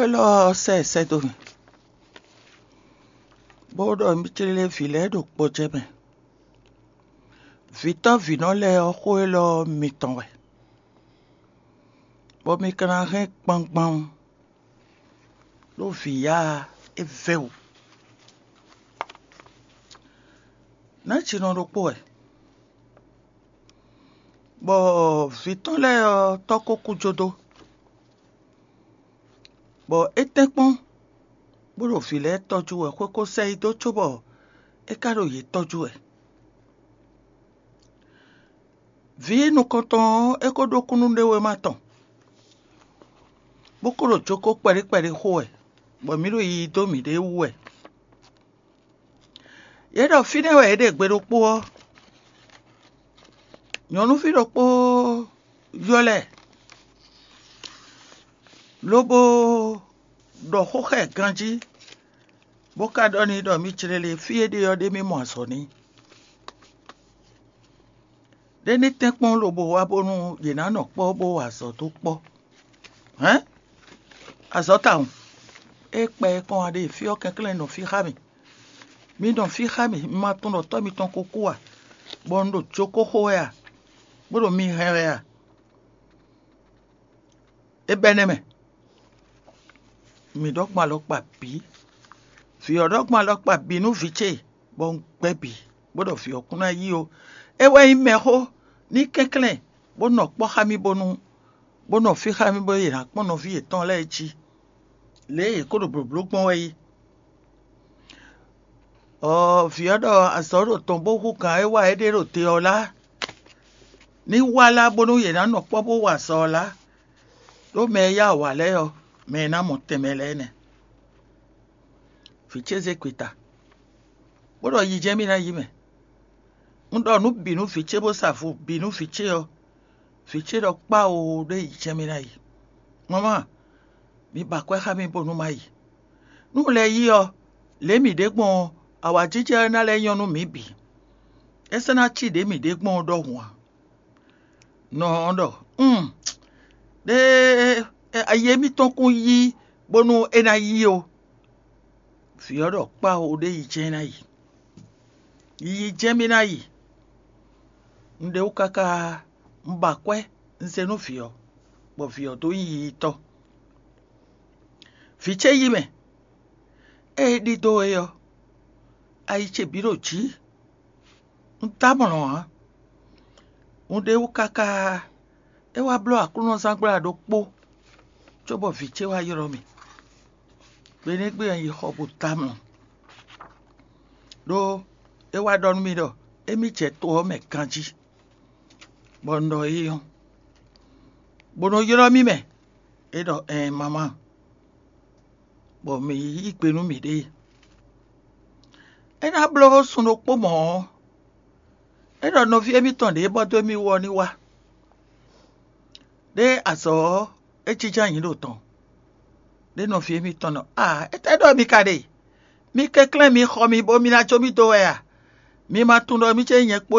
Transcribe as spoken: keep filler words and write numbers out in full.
Élɔ́ ɔ́ sɛ ɛ sɛ́ dó mì, bó ɖɔ mì céɖéɖé vǐ lɛ́ɛ ɖo gbɔjɛ́ mɛ. Vǐtɔ́ vǐnɔ lɛ́ɛ ɔ́, xó élɔ́ ɔ́ mitɔn wɛ, bɔ mi ka ná hɛn gbangban ɖó vǐ yá ɔ́, é vɛ́ wǔ. Nǎjinɔ ɖokpó wɛ, bɔ vǐ tɔn lɛ́ɛ ɔ́, tɔ́ ko kú jó dó, bɔ é tɛ́nkpɔ́n bó ɖo vǐ lɛ́ɛ tɔ́jú wɛ, xwé ko sɛ yi dó cóbɔ é ka ɖo yě tɔ́jú wɛ. Vǐ nukɔntɔn ɔ́, é ko ɖó kúnnuɖewéma tɔn, bó ko ɖo jókó kpɛɖé kpɛɖé xo wɛ, bɔ mǐ ɖo yiyi dó mǐɖée wú wɛ. Yě ɖɔ fínɛ́ wɛ yě ɖe gbe ɖokpó ɔ́, nyɔ̌nuví ɖokpó ylɔ́ ɛ, lobo ɖɔ xó xá ɛ ganjí, bó ka ɖɔ n'i ɖɔ mì clé lě fí e ɖe ɔ́ ɖé mì mɔ azɔ̌ n'i. Ɖé ní tɛ́nkpɔ́n lobo wá bónú yě ná nɔ kpɔ́ bó wa azɔ̌ dó kpɔ́. Hɛ̌n? Azɔ̌ tawun. É kpɛ e kɔn wá ɖe fí ɔ́ kɛnklɛ́n nɔ fí xá mì. Mi nɔ fí xá mì, mi ma tunwun ɖɔ tɔ́ mitɔn ko kú a, bɔ un ɖo jókó xo wɛ a, bó ɖo mi hɛn wɛ a? É bɛ́ nɛ́ mɛ. Mǐ ɖɔ gbɔn alɔkpa bǐ. Vǐ ɔ́ ɖɔ gbɔn alɔkpa bǐ nú vǐ ce, bɔ un gbɛ́ bǐ, bó ɖɔ vǐ ɔ́ kún ná yí ó. É wɛ nyí mɛxó ní kɛnklɛ́n, bó nɔ kpɔ́ xá mì bónú, bó nɔ fí xá mì bónú yě ná kpɔ́n nɔví yětɔn lɛ́ɛ jí, lě e yě ko ɖo blǒbló gbɔn wɛ é. Ɔɔ, vǐ ɔ́ ɖɔ azɔ̌ ɖo tɔn bó hú gǎn e wa é ɖe ɖo te ɔ́ lá, ní wá lá bónú yě ná nɔ kpɔ́ bó wa azɔ̌ ɔ́ lá, ɖó mɛ e yá awǎ lɛ́ɛ ɔ́, mɛ e ná mɔ tɛnmɛ lɛ́ɛ nɛ́. Vǐ ce zé gbeta, bó ɖɔ yi jɛ́n mì ná yi mɛ. Un ɖɔ nǔ bǐ nú vǐ ce bó sa vo bǐ nú vǐ ce ɔ́, vǐ ce ɖɔ kpá oo ɖó yi jɛ́n mì ná yi. Mama, mi ba akwɛ́ xá mì bónú má yi. Nú un lɛ́ yi ɔ́, lě mǐ ɖe gbɔn ɔ́, awǎjijɛ ɔ́ ná lɛ́ nyɔ́ nú mǐ bǐ. É sɔ́ ná cí ɖě mǐ ɖe gbɔn ɔ́ ɖɔhun ǎ. Nɔ ɔ́ ɖɔ: Un ɖe ayi émítɔn kún yí bónú é ná yí ó. Vǐ ɔ́ ɖɔ kpá ó ɖé yi jɛ́n ná yi. Yiyi jɛ́n mì ná yi. Un ɖe wú káká un ba akwɛ́ un zé nú vǐ ɔ́, bɔ vǐ ɔ́ dó nyí yiyitɔ́. Vǐ ce yí mɛ, ée é ɖidó é ɔ́, ayi ce bǐ ɖo jǐ. Un d'amlɔ ǎ. Un ɖe wú káká é wá bló aklúnɔzángbla ɖokpó, cóbɔ vǐ ce wá ylɔ́ mì. Gbe nɛ́ gbe un yi xɔ bó d'amlɔ, ɖó é wá ɖɔ nú mì ɖɔ émí jɛ to ɔ́ mɛ ganjí, bɔ un ɖɔ éyɔ́, bó nɔ ylɔ́ mì mɛ. É ɖɔ: Ɛɛn, mamá, bɔ mǐ yí gbe nú mǐɖée. É ná bló sun ɖokpó mɔ̌ ɔ́, é ɖɔ nɔví émítɔn ɖě bɔ dó émí wú ɔ́ ní wá. Ɖé azɔ̌ ɔ́, é jínjɔ́n ayǐ ɖo tɔn. Ɖé nɔví émítɔn ɖɔ: Aa, étɛ́ ɖɔ mi ka ɖe? Mi kɛnklɛ́n mi xɔ mi bó mi ná jó mì dó wɛ a? Mi ma tunwun ɖɔ mì ce nyí nyɛ kpó